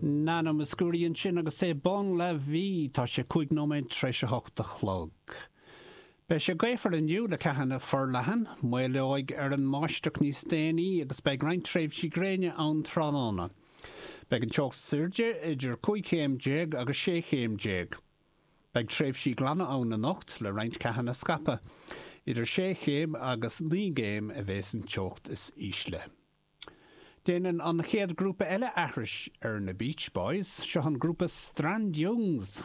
Nana Mouskouri ansin agus é Bon la vie. Tá sé 5 nóiméad tar éis a hocht a chlog. Beidh sé gaofar inniu le ceathanna forleathan, maolóidh ar an mbáisteach níos déanaí agus beidh roinnt tréimhsí gréine ann tráthnóna. Beidh an teocht is airde idir 15 chéim agus 16 chéim. Beidh tréimhsí glana ann anocht le roinnt ceathanna scaipthe. Idir 6 chéim agus 9 gcéim a bheas an teocht is ísle. Déanann an chéad grúpa eile aithris ar na Beach Boys. Seo an grúpa Strandjungs.